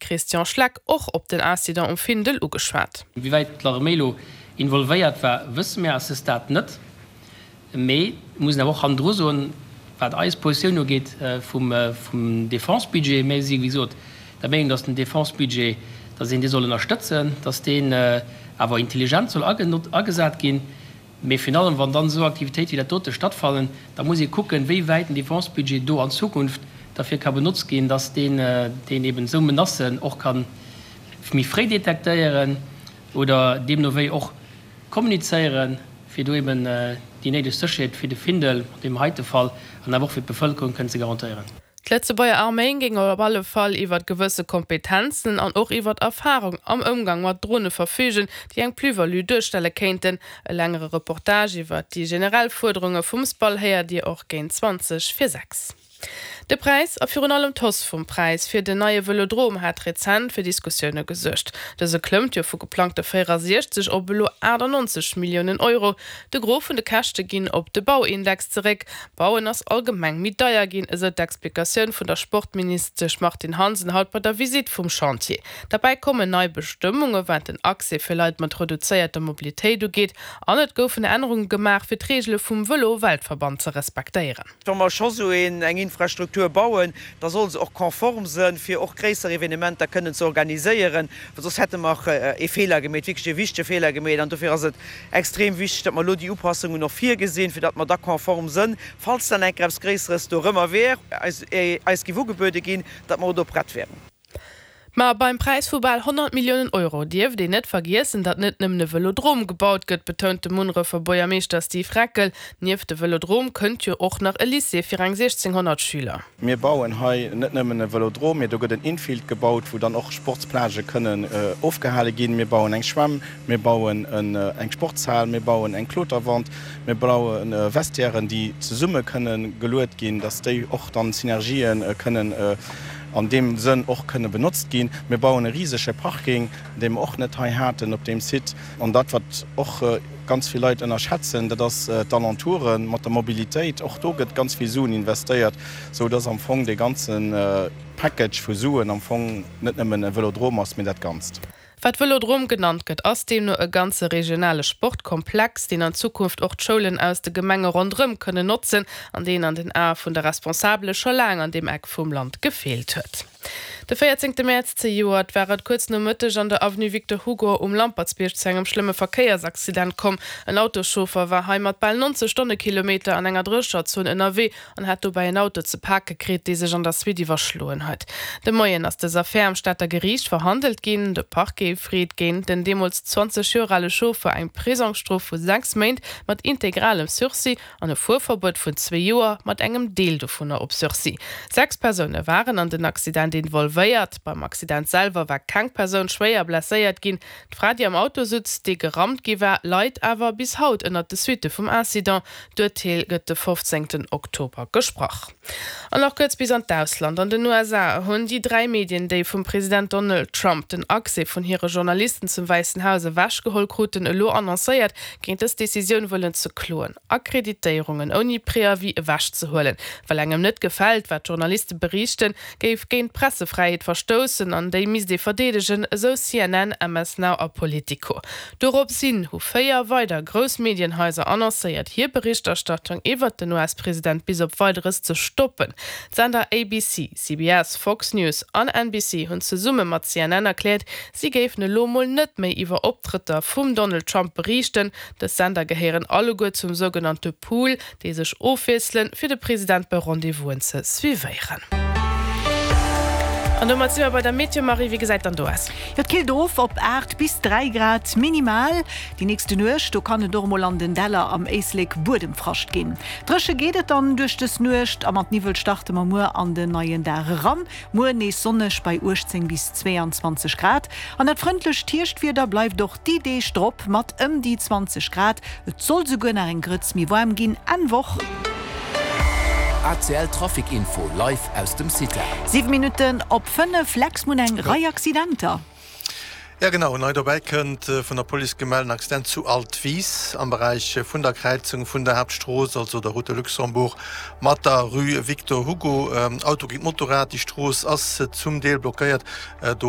Christian Schleck och op den Incident um Findel ugeschwat. Wéi wäit d'Arméi elo involvéiert war, wësse mir à ce stade net. Mee mir mussen awer och hannendru soen, wat eis Positioun ugeet vum Defense-Budget, mir si wéi gesot der Meenung, datt den Defense-Budget, datt een dee soll ënnerstëtzen, datt deen awer intelligent soll agesat ginn. Mee virun allem, wann dann esou Aktivitéite wéi dat dote stattfannen, da muss ee kucken, wéi wäit den Defense-Budget do an Zukunft derfir ka benotzt ginn, datt deen deen eben esou Menacen och ka méi fréi detektéieren oder deemno wéi och kommunizéieren, fir do eben déi néideg Sécherheet fir de Findel an deem heite Fall an awer och fir d'Bevëlkerung kënnen ze garantéieren. D'Lëtzebuerger Arméi géing op alle Fall iwwert gewësse Kompetenzen an och iwwert Erfarung am Ëmgang mat Drone verfügen, déi eng Plus-value duerstelle kéinten. E längere Reportage iwwert déi generell Fuerderunge vum SPAL héiert Dir och géint 20 vir 6. De Präis, a virun allem d'Hausse vum Präis fir den neie Vëlodrom hat rezent fir Diskussioune gesuergt. Dëse klëmmt jo vu geplangte 64 op elo 98 Milliounen Euro. De Gros vun de Käschte ginn op de Bauindex zeréck. Bauen ass allgemeng méi deier ginn, esou d'Explikatioun vun der Sportministesch Martine Hansen haut bei der Visitt vum Chantier. Derbäi kommen nei Bestëmmunge wat den Accès fir Leit mat reduzéierter Mobilitéit ugeet an et goufen Ännerunge gemaach fir d'Reegele vum Vëlo-Weltverband ze respektéieren. Wa mer scho sou een eng Infrastruktur bauen, da soll se och konform sënn, fir och gréisser Evenementer kënnen ze organiséieren, well soss hätte mer ee Feeler gemeet, wierklech ee wichtege Feeler gemeet. An dofir ass et extrem wichteg, datt mer elo déi Upassungen och virgesinn, fir datt mer da konform sënn, falls dann eng Kéier eppes Gréisseres dorëmmer wär, eis eis géif ugebuede ginn, datt mer och do prett wären. Ma beim Präis vu bal 100 Milliounen Euro dierft een net vergiessen, datt net nëmmen e Vëlodrom gebaut gëtt, betount de Munnerefer Buergermeeschter Steve Reckel. Nieft de Vëlodrom kënnt jo och nach e Lycée fir eng 1.600 Schüler. Mir bauen hei net nëmmen e Vëlodrom, mee do gëtt en Infield gebaut, wou dann och Sportsplagë kënnen ofgehale ginn. Mir bauen eng Schwämm, mir bauen eng Sportshal, mir bauen eng Kloterwand, mir baue Vestiairen, déi zesumme kënne geluet ginn, datt déi och dann Synergië kënnen an deem Sënn och kënne benotzt ginn. Mir bauen e risege Parking, dee mer och net hei haten op deem Site. An dat, wat och ganz vill Leit ënnerschätzen, dat ass d'Alentouren mat der Mobilitéit. Och do gëtt ganz vill Suen investéiert, sou dass am Fong dee ganze Package vu Suen am Fong net nëmmen e Vëlodrom ass, mee dat Ganzt. Wat Vëlodrom genannt gëtt, ass deemno e ganze regionale Sportkomplex, deen an Zukunft och d'Schoulen aus de Gemenge ronderëm kënnen notzen an deen an den Ae vun de Responsabele scho laang an deem Eck vum Land gefeelt huet. De 14 Mäerz zejoert war et kuerz no Mëtteg an der Avenue Victor Hugo um Lampertsbierg zu engem schlëmme Verkéiersaccident komm. En Autoschauffer war hei mat bal 90 Stonnekilometer an enger Drécherzon ënnerwee an hat dobäi en Auto ze pake kritt, dee sech an der Suite iwwerschloen huet. De Moien ass dës Affär am Stater Geriicht verhandelt ginn. De Parquet freet géint den deemools 20 Joer ale Chauffer eng Prisongsstrof vu 6 Méint mat integralem Sursis an e Fuerverbuet vun zwee Joer mat engem Deel dovunner op Sursis. 6 Persoune waren an den Accident involvéiert. Beim Accident selwer war keng Persoun schwéier blesséiert ginn. D'Fra, déi am Auto sutz, dee gerammt gi war, leit awer bis haut ënnert de Suitte vum Incident. D'Urteel gëtt de 15 Oktober gesprach. An nach kuerz bis an d'Ausland. An den USA hunn déi 3 Medien, déi vum President Donald Trump den Accès vun hire Journalisten zum Wäissen Haus ewechgeholl kruten, elo annoncéiert, géint dës Decisioun wëllen ze kloen. Akkreditéierungen ouni Préavis ewechzehuelen, well engem net gefält, wat d'Journaliste beriichten, géif géint d'Pressefräiheet verstoussen an déi misst ee verdeedegen, esou CNN, MS Now a Politico. Dorops hin hu 4 weider grouss Medienhaiser annoncéiert, hir Berichterstattung iwwert den US-President bis op Weideres ze stoppen. D'Sender ABC, CBS, Fox News an NBC hunn zesumme mat CNN erkläert, si géifen elo mol net méi iwwer Optrëtter vum Donald Trump beriichten. Dës Sender gehéieren alleguer zum sougenannte Pool, déi sech ofwiesselen, fir de President bei Rendez-vousen ze suivéieren. An domat si mer bei der Meteo. Marie, wéi gesäit dann do aus? Jo, et killt of op 8 bis 3 Grad minimal. Déi nächste Nuecht, do kann et och emol an den Däller am Éislek Buedemfrascht ginn. Dréche geet et dann duerch dës Nuecht a mat Niwwel starte mer muer an den neien Dag eran. Muer nees sonneg bei 18 bis 22 Grad an dat frëndlecht Hierschtwieder bleift och déi Deeg drop mat ëm déi 20 Grad. Et soll souguer nach eng Grëtz méi waarm ginn Enn Woch. ACL Trafic Info live aus dem CITA. 7 Minutten op 5, Lex, Mun eng Rei Accidenter. Ja genau, nei dobäi kënnt vun der Police gemellten Accident zu Altwis am Beräich vun der Kräizung vun der Haaptstrooss, also der Route de Luxembourg mat der Rue Victor Hugo. Auto géint Motorrad, déi Strooss ass zum Deel blockéiert. Do.